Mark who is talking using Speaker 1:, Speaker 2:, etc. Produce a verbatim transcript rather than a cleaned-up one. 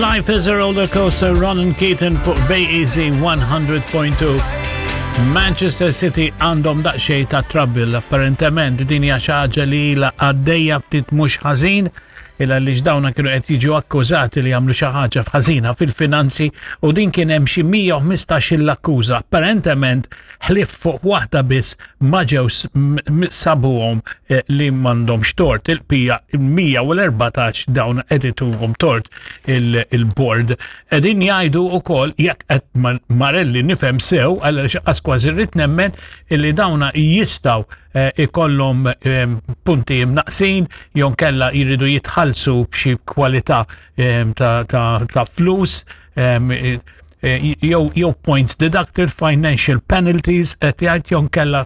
Speaker 1: Life is a Roller Coaster, Ronan Keating fuq Bay Easy one hundred point two. Manchester City għandhom daqsxejn ta' trouble, apparentement din hija xi ħaġa li ilha għaddejja ftit mhux ħażin, illa li dawna kienu qed jiġu akkużati li jagħmlu xi ħaġa f'ħażina fil-finanzi u din kien hemm xi mija u ħmistax l-akkuża. Apparentement ħlief fuq waħda biss ma ġew sabuhom eh, li m'għandhomx tort. Il-bqija mija u erbatax dawn qed ituhom tort il-board. Qegħdin jgħidu wkoll, jekk qed Marelli nifhem sew, għal kważi rrid nemmen illi dawna jistgħu eh, ikollhom eh, punti mnaqsin jew kella jridu jitħallsu b'xi kwalità eh, ta', ta, ta flus jew jew points deducted, financial penalties, qed jgħid jew kella